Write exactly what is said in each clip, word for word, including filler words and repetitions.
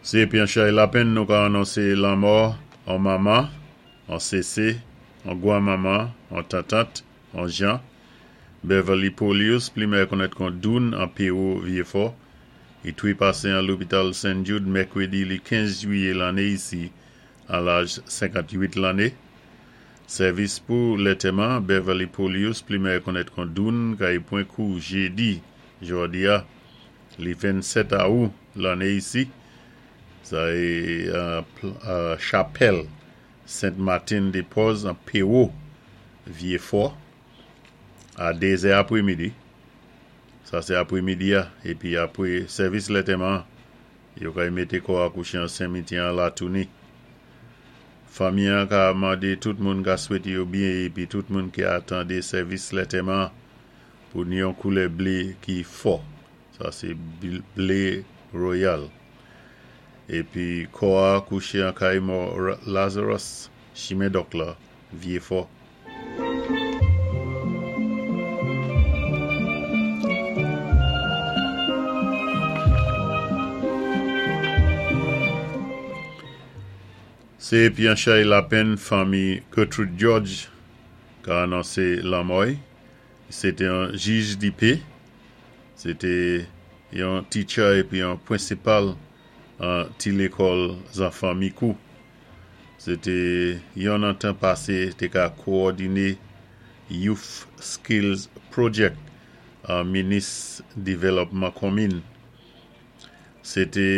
Sé épi an chay lapenn nou ka anonsé lanmò an manman, an sésé, an gwan-manman, an tantant, an jan, Beverly Polius, pli mèyè konnèt kon Doun an Pewo Vyéfò, i twé pasé an lopital Saint Jude mèkwédi li kenz jwiyé lanné isi, an laj senkant-wit lanné. Sèvis pou lantèman Beverly Polius, pli mèyè konnèt kon Doun, kay pwan kou jédi, jòdi-a, li vennsèt awou lanné isi, sa é euh, chapèl Saint Martin de Porres an Pewo Vyéfò, a dézè apwémidi. Sa sé apwémidi-a, épi apwé sèvis lantèman, yo kay mété kò a kouché an simityè an Latouni. Fanmi-an ka mandé tout moun ka swété yo byen épi tout moun ki atandé sèvis lantèman pou ni yon koulè blé ki fò. Sa sé blé royal. Épi kò a kouché an kay mò Lazarus, chimen Dòk la, Vyéfò. Sé épi an chay lapenn fanmi Gertrude George ka anonsé lanmò-y. Sé té yon jij di pé, sé té yon teacher épi yon pwensipal an ti lékòl zanfan Micoud. Sé té yon an tan pasé té ka kowòdiné Youth Skills Project an Minis Dévélopman Konminn. Sé té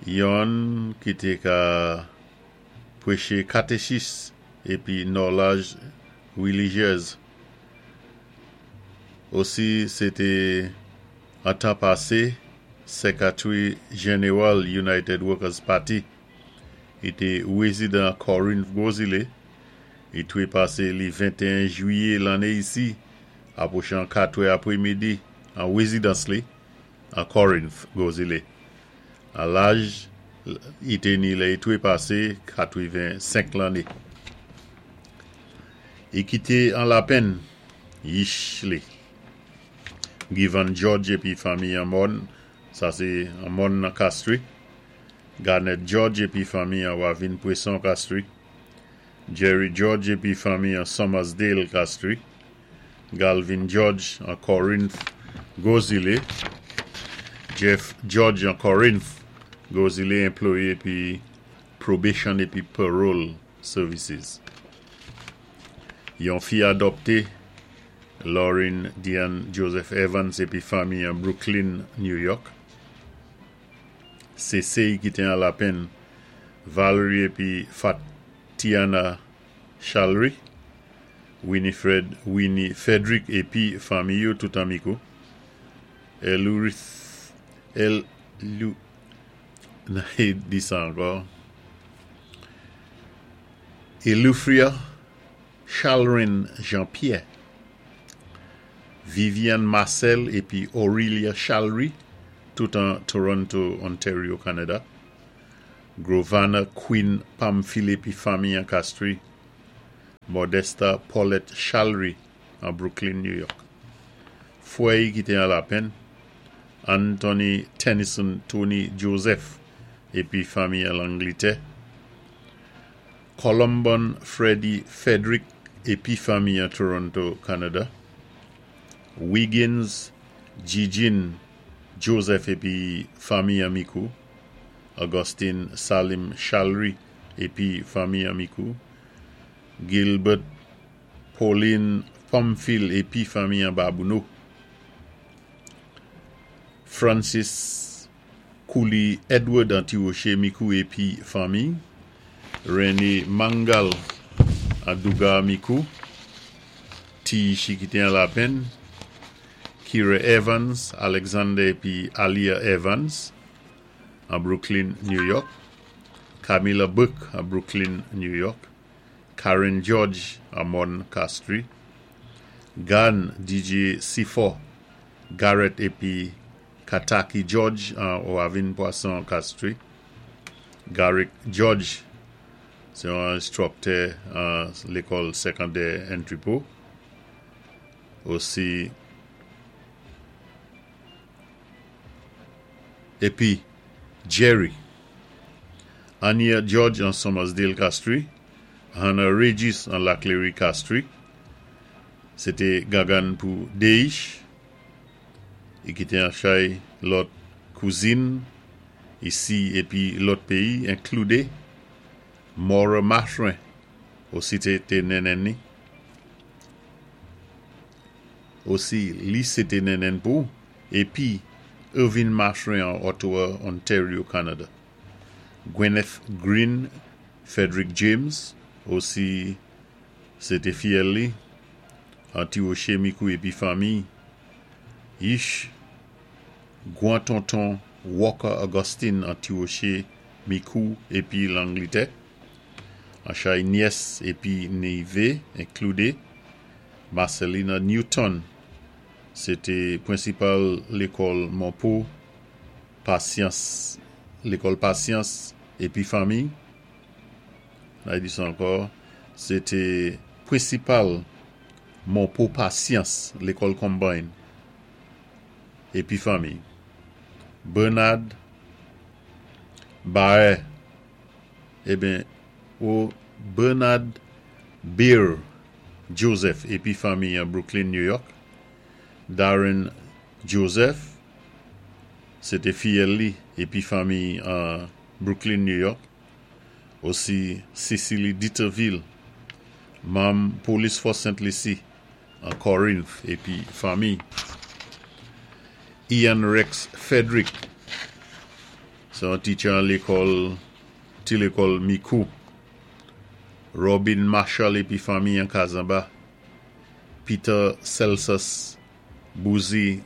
yon ki té ka pwéché katechis épi nòlaj wélijyéz. Osi sé té an tan pasé Sékatwi Jénéwal United Workers Party. I té wézidan Corinth Gwo Zilé. I twé pasé li ventéen jwiyé lanné isi, apwochan katwè apwémidi an wézidans li, an Corinth, Gwo Zilé. An laj, i té ni lè i twé pasé katwenn-senk lanné. I kité an lapenn, yich li. Givan George épi fanmi an Mòn, sa sé an Mòn nan Castries. Garnet George épi fanmi an Wavin Pwéson Castries. Jerry George épi fanmi an Summersdale Castries. Galvin George an Corinth, Gwo Zilé. Jeff George an Corinth, Gwo Zilé anplwayé épi Probation épi Parole Services. Yon fi adopté, Lauren Diane Joseph Evans épi fanmi an Brooklyn, New York. Sésé ki té an lapenn, Valerie épi Fatiana Chalry, Winifred Winnie Frederick épi fanmi yo tout an Micoud. Elurith El Lu di sa ankò. Elufria Chalrin Jean-Pierre, Viviane Marcel épi Aurelia Chalry, tout an Toronto, Ontario, Canada. Grovana Queen Pamphile épi fanmi an Castries. Modesta Paulette Chalry an Brooklyn, New York. Fwè ki té an lapenn, Anthony Tennyson Tony Joseph épi fanmi an Langlétè. Columbon Freddie Frederick épi fanmi an Toronto, Canada. Wiggins Gigin Joseph épi fanmi an Micoud. Augustine Salim Chalry épi fanmi an Micoud. Gilbert Pauline Pamphile épi fanmi an Babouno. Francis Cooley Edward an Ti-Woché Micoud épi fanmi. René Mangal an Dougar Micoud. Ti ki té an lapenn. Kira Evans, Alexander épi Alia Evans an Brooklyn, New York. Camilla Burke an Brooklyn, New York. Karen George an Mon Castries. Gan D J Sifo, Garrett épi Kataki George an Wavin Poisson Castries. Garrick George, sé yon enstriktè an lékòl sékondè Entrepôt. Osi épi Jerry. Anya George an Summersdale Castries, Hannah Regis an Laclery Castries, sé té gangann pou Deish, i kité an chay lòt kouzin isi épi lòt péyi inkloudé Maura Mathurin osi té té nennenn ni. Osi li sé té nennenn pou épi Irving Mathurin an Ottawa, Ontario, Canada. Gwyneth Green, Frederick James osi sé té fiyèl li an Ti Wòché Micoud épi fanmi Yish Gwan Tonton Walker Augustine an Ti Wòché Micoud épi Langlétè. An chay nyès épi névé inkloudé Marcelina Newton sé té pwénsipal lékòl Monpo Pasyans lékòl Pasyans épi fanmi la di sa ankò sé té pwénsipal Monpo Pasyans lékòl Combine épi fanmi Bernard Baer eben ou Bernard Beer Joseph épi fanmi an Brooklyn, New York. Darren Joseph sé té fiyèl li épi fanmi an Brooklyn, New York. Osi Cecily Dieterville, manm Police Force Saint Lucie an Corinth épi fanmi. Ian Rex Frederick, sé an teacher an lékòl, ti lékòl Micoud. Robin Marshall épi fanmi an Kazamba. Peter Celsus Bouzy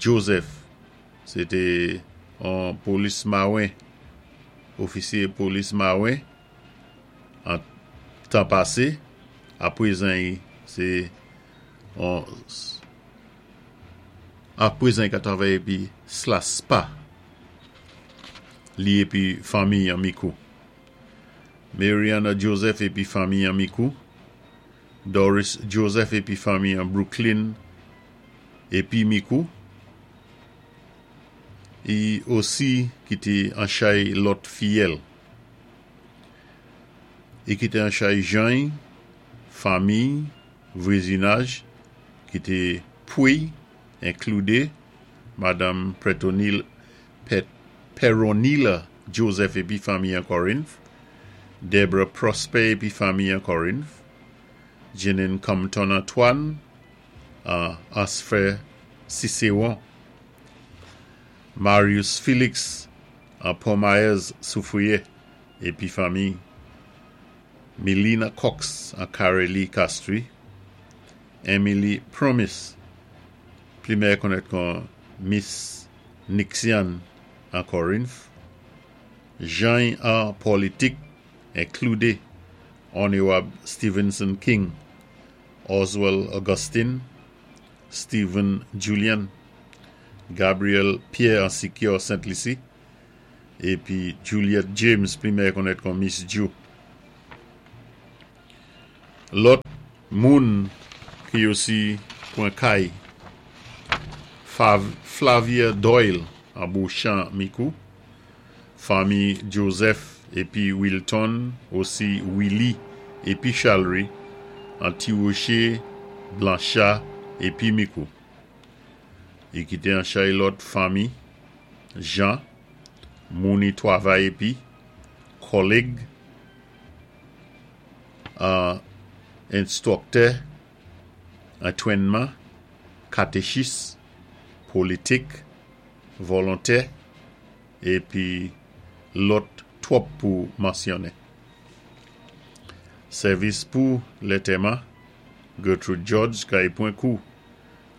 Joseph, sé té an polis mawen, ofisyé polis mawen, an tan pasé, apwézan sé an apwézan i ka travay épi SLASPA, li épi fanmi an Micoud. Mariana Joseph épi fanmi an Micoud. Doris Joseph épi fanmi an Brooklyn épi Micoud. I osi kité an chay lòt fiyèl. I kité an chay Jean, fanmi, vwazinaj, ki té pwi, inkloudé Madame Pretonil, Pet, Peronila Joseph épi fanmi an Corinth, Deborah Prosper épi fanmi an Corinth, Jeanine Compton Antoine, uh, Asfer Cicéron, Marius Félix an Port-Maez Soufrière épi fanmi, Melina Cox an Carely Castries, Emily Promise, pli mèyè konnèt kon Miss Nixian an Corinth, Jean an politik inkloudé Honorable Stevenson King, Oswald Augustine, Stephen Julian, Gabriel Pierre an Secure Saint-Lucie, épi Juliet James, pli mèyè konnèt kon Miss Ju. Lòt moun ki osi pwan kay, Fav, Flavia Doyle an Beauchamp Micoud, fanmi Joseph épi Wilton, osi Willie épi Chalry, an Ti Wòché, Blanchard épi Micoud. I kité an chay lòt fanmi, Jean, moun i twavay épi, kòlèg, uh, enstwiktè, antwénman, katechis, politik, volontè, épi lòt twòp pou mansyonnen. Sèvis pou lantèman, Gertrude George kay pwan kou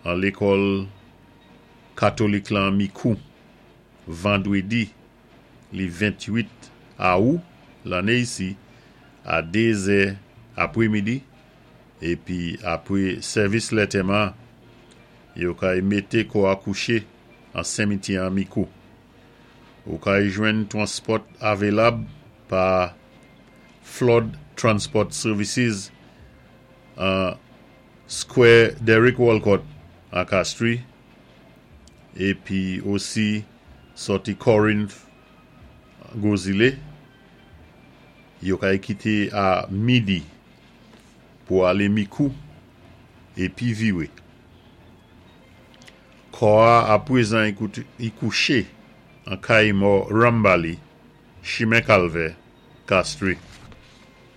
an lékòl katolik lan Micoud, vandwédi li ventuit awou lanné isi a dé zè apwémidi épi apwé sèvis lantèman yo kay mété kò a kouché an simityè an Micoud. Ou kay jwenn transport avelab pa Flood Transport Services an Square Derek Walcott an Castries épi osi sòti Corinth Gwozilé, yo kay kité a midi pou alé Mikou épi viwé. Kò-a apwézan i kouché an kay mò Rambali, Chimen Kalvè, Castries.